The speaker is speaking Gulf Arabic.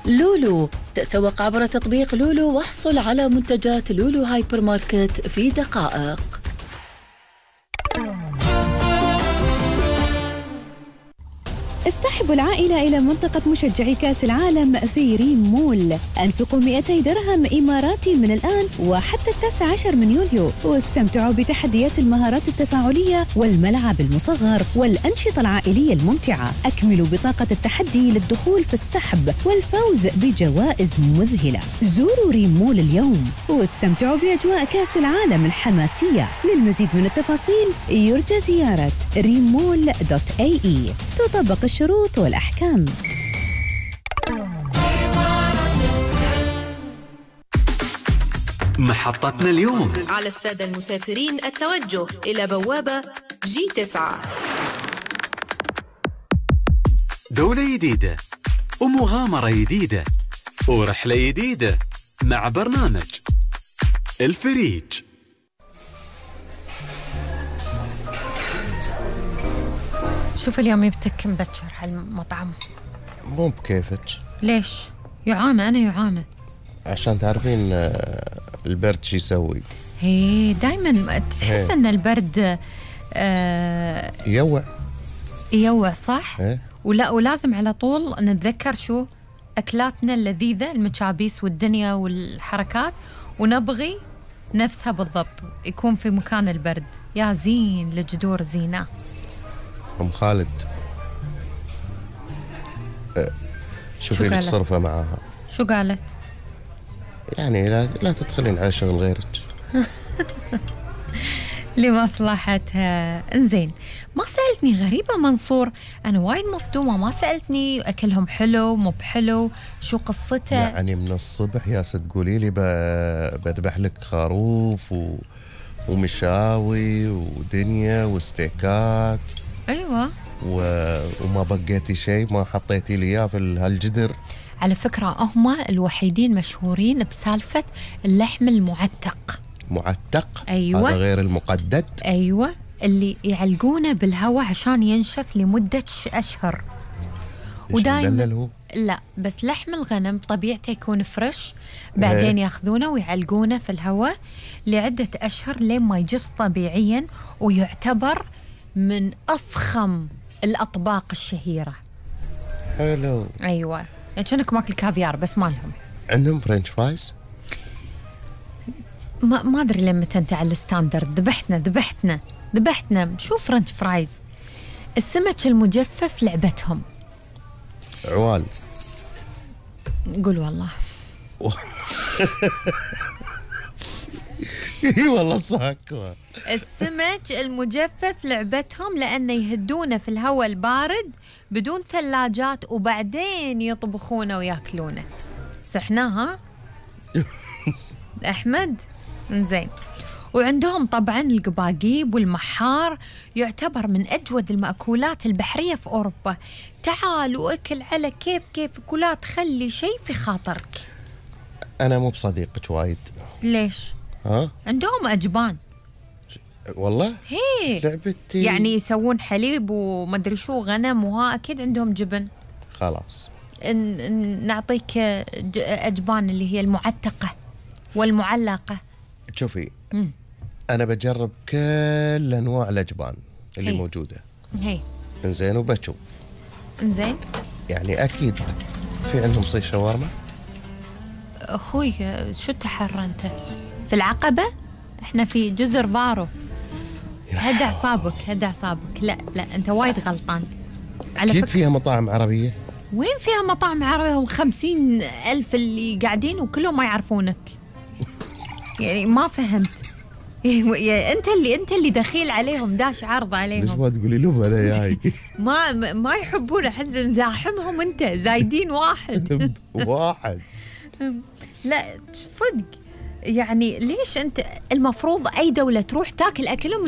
لولو، تسوق عبر تطبيق لولو واحصل على منتجات لولو هايبر ماركت في دقائق. اصطحبوا العائلة إلى منطقة مشجعي كأس العالم في ريم مول. أنفقوا 200 درهم إماراتي من الآن وحتى 19 من يوليو، واستمتعوا بتحديات المهارات التفاعلية والملعب المصغر والأنشطة العائلية الممتعة. أكملوا بطاقة التحدي للدخول في السحب والفوز بجوائز مذهلة. زوروا ريم مول اليوم واستمتعوا بأجواء كأس العالم الحماسية. للمزيد من التفاصيل يرجى زيارة rimmall.ae. تطبق الشروط والأحكام. محطتنا اليوم. على السادة المسافرين التوجه إلى بوابة G9. دولة جديدة ومغامرة جديدة ورحلة جديدة مع برنامج الفريج. شوف اليوم يبتك مبكر هالمطعم. مو بكيفك. ليش؟ يعانى أنا يعانى. عشان تعرفين البرد شي يسوي. هي دايما تحس أن البرد يوع صح؟ ولازم على طول نتذكر شو أكلاتنا اللذيذة، المشابيس والدنيا والحركات، ونبغي نفسها بالضبط يكون في مكان البرد. يا زين لجدور زينة. أم خالد شوفي لك صرفة معاها. شو قالت؟ يعني لا تدخلين على شغل غيرك. لمصلحتها. انزين، ما سألتني غريبة منصور، أنا وايد مصدومة، ما سألتني أكلهم حلو مو بحلو، شو قصته؟ يعني من الصبح يا تقولي لي بذبح لك خروف ومشاوي ودنيا وستيكات. أيوة. وما بقيتي شيء، ما حطيتي لي إياه في هالجدر. على فكرة هم الوحيدين مشهورين بسالفة اللحم المعتق. معتق؟ أيوة. هذا غير المقدد. أيوة، اللي يعلقونه بالهواء عشان ينشف لمدة أشهر. ودايما لا، بس لحم الغنم طبيعته يكون فريش، بعدين ياخذونه ويعلقونه في الهواء لعدة أشهر لين ما يجفص طبيعيا، ويعتبر من أفخم الأطباق الشهيرة. حلو. أيوة، يعني كأنك ماكل كافيار بس ما لهم. عندهم فرنش فرايز؟ ما أدري لما أنت على الستاندرد. ذبحتنا شو فرنش فرايز. السمك المجفف لعبتهم. عوال. قول والله. اي والله صاكوا. السمك المجفف لعبتهم، لأنه يهدونه في الهواء البارد بدون ثلاجات وبعدين يطبخونه وياكلونه. صحناها أحمد. إنزين، وعندهم طبعا القباقيب والمحار، يعتبر من أجود المأكولات البحرية في أوروبا. تعال وأكل على كيفك ولا تخلي شيء في خاطرك. أنا مو بصديقك وايد. ليش؟ عندهم أجبان والله. هي لعبتي يعني يسوون حليب ومدري شو غنم، وها أكيد عندهم جبن. خلاص نعطيك أجبان اللي هي المعتقة والمعلقة. شوفي أنا بجرب كل أنواع الأجبان اللي موجودة. إنزين وبشوف. إنزين، يعني أكيد في عندهم صيف شاورما. أخوي شو تحر أنت؟ في العقبة؟ إحنا في جزر فارو. هدى أعصابك. لا أنت وايد غلطان. على أكيد فيها مطاعم عربية. وين فيها مطاعم عربية؟ هم 50,000 اللي قاعدين وكلهم ما يعرفونك. يعني ما فهمت. انت اللي دخيل عليهم، داش عرض عليهم. ليش ما تقولي لهم انا جاي؟ ما يحبون، احس زاحمهم انت زايدين واحد. لا صدق، يعني ليش انت المفروض اي دولة تروح تاكل اكلهم